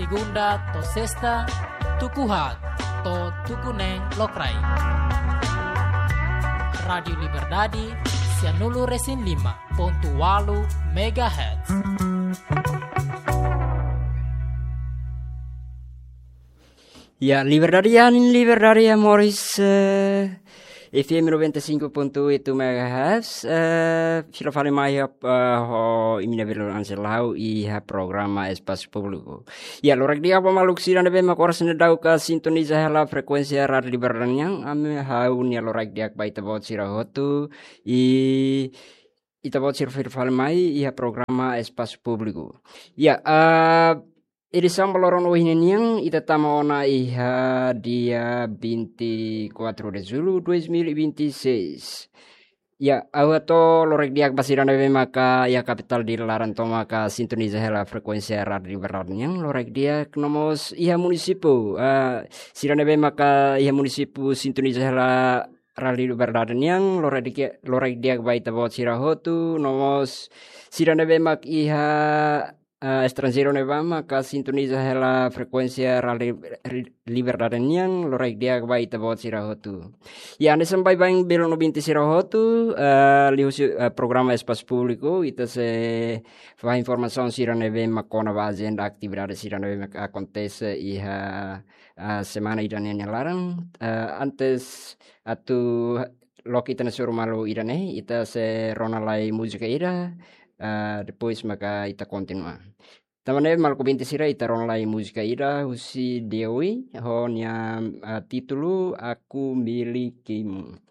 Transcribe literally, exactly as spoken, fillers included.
Segunda to'o sesta, tuku haat to'o tuku neen lokraik. Rádiu Liberdade, sianulu-resin-lima pontu ualu megahertz. Ya, liberdade ya, nin liberdade ya, moris, eh, F M noventa e cinco ponto oito megahertz, eh, fila fali mai iha, eh, ho imi-nia belun anselau iha programa Espasu Públiku. Ya, loraik di'ak ba maluk sira ne'ebé mak oras ne'e daudauk sintoniza hela frekuénsia Rádiu Liberdade nian, ami ha'u-nia loraik di'ak ba ita-boot sira hotu, i ita-boot sira fila fali mai iha programa Espasu Públiku. Ya, ah, edisaun ba loron ohin nian ita tama ona iha dia vinte e quatro de julho dois mil e vinte e seis. Ya, ha'u hato'o loraik di'ak ba sira ne'ebé maka iha kapitál Dili laran tomak sintoniza hela frekuénsia Rádiu Liberdade nian, loraik di'ak. No mós iha munisípiu, ah, sira ne'ebé maka iha munisípiu sintoniza hela Rádiu Liberdade nian, loraik di'ak, loraik di'ak ba ita-boot sira hotu, no mós sira ne'ebé mak iha, eh, estranjeiru ne'ebá maka sintoniza hela frekuénsia Rádiu Ri-, Liberdade nian, loraik di'ak ba ita-boot sira hotu. Ya, hanesan baibain belun ouvinte sira hotu, eh, liuhusi, eh, programa Espasu Públiku, ita sei fahe informasaun sira ne'ebé mak kona-ba ajenda atividade sira ne'ebé mak akontese iha, eh, semana ida-ne'e nia laran. Eh, antes atu loke ita-nia soru malu ida-ne'e, ita sei rona lai múzika ida, ah, depois maka ita kontinua. Tanba ne'e maluk ouvinte sira, ita rona lai múzika ida husi Dewi, ho nia, ah, títulu Aku Milikimu.